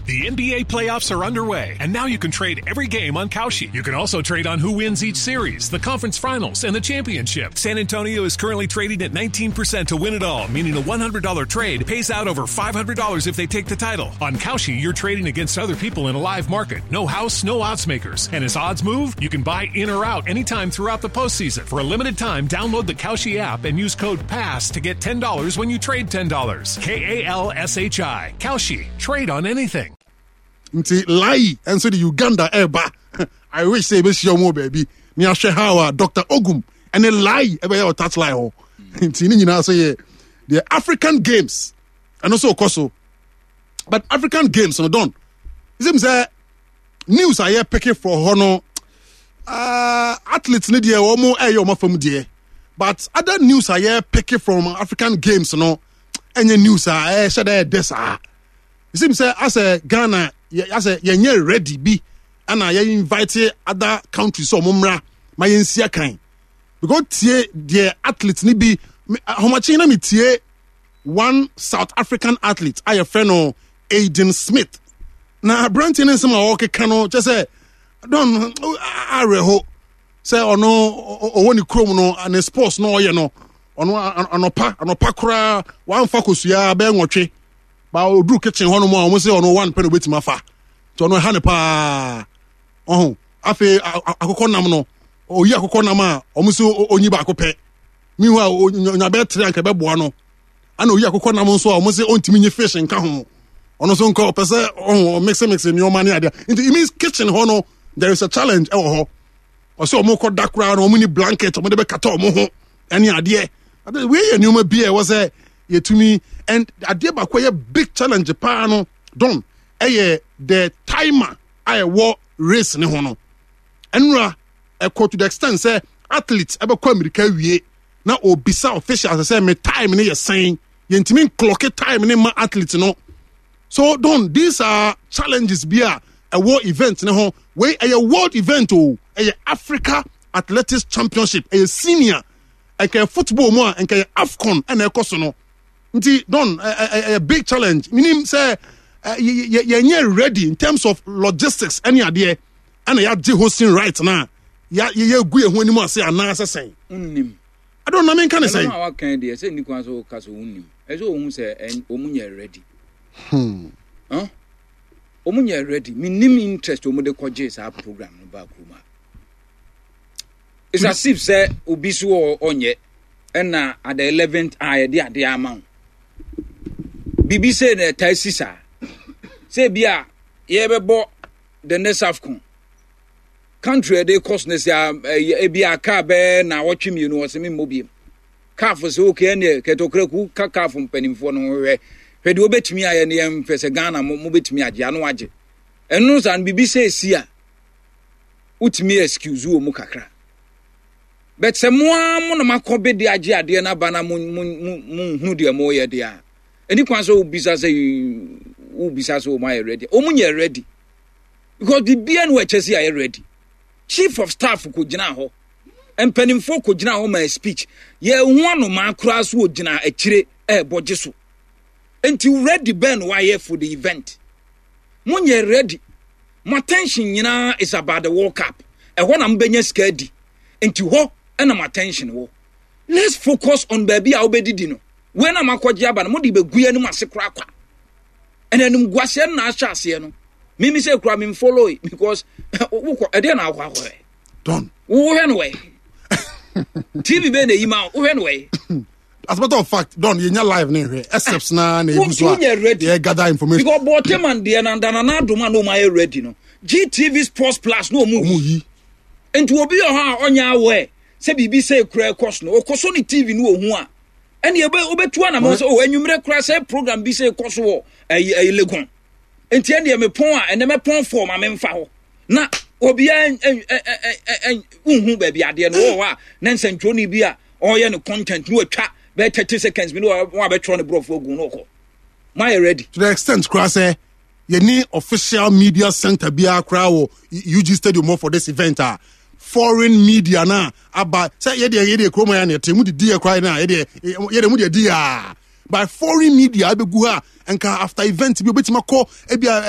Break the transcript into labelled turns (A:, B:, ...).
A: The NBA playoffs are underway, and now you can trade every game on Kalshi. You can also trade on who wins each series, the conference finals, and the championship. San Antonio is currently trading at 19% to win it all, meaning a $100 trade pays out over $500 if they take the title. On Kalshi, you're trading against other people in a live market. No house, no odds makers. And as odds move, you can buy in or out anytime throughout the postseason. For a limited time, download the Kalshi app and use code PASS to get $10 when you trade $10. Kalshi. Kalshi. Trade on anything.
B: Nti Lai nso de Uganda ɛreba. I wish sɛ yɛbɛhyia wɔn wɔ baabi ne ahwɛ how a Dr. Ogum ɛne Lai ɛbɛyɛ wɔ touchline hɔ. Nti ne nyinaa so yɛ the African Games, ɛno nso kɔ so. But African Games no, don ɛsɛ sɛ news a yɛpeke for hɔ no, athletes ne deɛ, wɔn ɛyɛ wɔn afam deɛ, but other news a yɛpeke from African Games no, ɛnyɛ news a ɛhyɛ dɛ ɛdɛ saa. Ɛsɛ sɛ asɛ Ghana asɛ yɛnyɛ ready bi ɛna yɛ invite other countries sɛ ɔmo mmra ma yɛnsi akan, because tie deɛ athlete ni bi ahomakye na mi tie one South African athlete a yɛfrɛ no Aiden Smith, na aberanteɛ no nsɛm a ɔrekeka no kyɛ sɛ don awerɛho sɛ ɔno ɔwɔ ne kurom no, ne sports no ɔyɛ no, ɔno anɔpa anɔpa koraa wamfa kosua bɛyɛ 8 ba ɔduru kitchen hɔ nom a, ɔmo sɛ ɔno one pɛ na obɛtumi afa, nti ɔno ɛha ne paa. Ɔho afei akokɔ nam no, ɔyi akokɔ nam a, ɔmo sɛ ɔnyi baako pɛ mihu a ɔnya bɛyɛ tere anka ɛbɛboa no. Ana oyi akokɔ nam nso a, ɔmo sɛ ɔntumi nye fish nka ho, ɔno nso nka ɔpɛ sɛ ɔho ɔmix mix nneɛma ne adeɛ. Nti it means kitchen hɔ no, there is a challenge ɛwɔ hɔ. Ɔsɛ ɔmo kɔ da koraa no, ɔmo ni blanket ɔmo de bɛkata ɔmo ho ɛne adeɛ. Ade wei yɛ nneɛma bi a ɛwɔ sɛ yɛtumi, and adeɛ baako a ɛyɛ big challenge paa no, don, ɛyɛ the timer a ɛwɔ race ne ho no. Ɛnura ɛkɔ to the extent sɛ athlete ɛbɛkɔ Amerika awie na obisa officials sɛ, "Me time ne yɛ sɛn?" Yɛntumi nclocke time ne ma athlete no. So don, these are challenges bi a ɛwɔ event ne ho. Wei ɛyɛ world event o, ɛyɛ Africa Athletics Championship, ɛyɛ senior. Ɛnka football mu a, nka yɛ AFCON ɛna ɛkɔ so no. Nti don, ɛyɛ big challenge. Minim sɛ yɛnyɛ ready in terms of logistics ɛne adeɛ, ɛna yɛagye hosting right na yɛgu yɛn ho anim ase anaasɛ sɛn?
C: Wonnim.
B: Adɔn na menka ne sɛn?
C: Ɛno a wakan deɛ, sɛ nni kwan sɛ woka sɛ wonnim. Ɛsɛ ɔhu sɛ ɔmu nyɛ ready. Huh? Ɔmu nyɛ ready. Mennim interest ɔmu de kɔgye saa program no baa kurom a. It's as if sɛ obi so ɔnyɛ ɛna at the 11th a yɛde adeɛ ama wo. Biribi sɛ na ɛtaa si saa. Sɛ bi a yɛbɛbɔ the next AFCON, country a ɛde kɔ so no sɛ ebi a kaa bɛɛ na wɔtwe 2 ɔsɛ me mmɔ biem. CAF sɛ okay, ɛneɛ kɛtɔkraku ka CAF mpanimfoɔ no ho, hwɛ hwɛ deɛ wobɛtumi ayɛ no, yɛmfɛ sɛ Ghana mo mobɛtumi agye ano agye ɛno saa no. Biribi sɛ ɛsi a, wotumi excuse wɔ mu kakra, but sɛ mo ara mo na makɔ bɛdi agye adeɛ no aba na mo mo mo nhunu deɛ moyɛ deɛ a, ɛni kwan sɛ wobisa sɛ wɔn ayɛ ready. Wɔn nyɛ ready because biribiara no wɔakyɛ si ayɛ ready. Chief of staff kò gyina hɔ, mpanimfoɔ kò gyina hɔ ma speech, yɛn ho anomaa koraa so ogyina akyire ɛɛbɔ gye so. Nti ready bɛn na wayɛ for the event? Mo nyɛ ready. Mo attention nyinaa is about the World Cup. Ɛhɔ na mo bɛnya sika adi, nti hɔ ɛna mo attention wɔ. Let's focus on baabi a wobɛdidi no. Wei na makɔgye aba no, mode bɛgu yɛn anim ase koraa kwa. Ɛna anim guaseɛ no na ahyɛ aseɛ no. Mimi sɛ kura mi follow it because wokɔ ɛdeɛ na akɔ akɔhwɛ.
B: Don.
C: Wohwɛ no wɛ. TV bɛɛ na eyi ma wohwɛ no wɛ.
B: As a matter of fact, don, yɛnya live ne nhwɛ except na egu so a
C: yɛ
B: gather information.
C: Because Bɔtɛman deɛ na ndanana adum a na ɔmo ayɛ ready no, GTV Sports Plus na ɔmo
B: yi.
C: Nti obi wɔ hɔ a ɔnyɛ aware sɛ biribi sɛ ekura ɛkɔ so no, ɔkɔ so ne TV no ohu a, ɛne ebe obetu anamɔ sɛ o enyimrɛ kura sɛ program bi sɛ ɛkɔ so wɔ ɛyi ɛyi Legon, nti ɛne ɛmɛ pɔn a ɛnɛ mɛ pɔn fɔm a mɛmfa hɔ na obiara ɛ ɛ ɛ ɛ nhu baabi adeɛ no wɔ hɔ a, na nsɛntwerɛni bi a ɔyɛ no content no watwa bɛyɛ 30 seconds bi na wɔn abɛtwerɛ ne borɔfo agu no ɔkɔ. Mo ayɛ ready?
B: To the extent koraa sɛ yɛni official media center biara koraa wɔ UG Stadium hɔ for this event a foreign media na aba sɛ yɛdeɛ kurom yɛ na yɛte mu didi yɛ koraa na yɛdeɛ mu deɛ di a by foreign media abɛgu ha, nka after event bi obɛtumi akɔ ebi a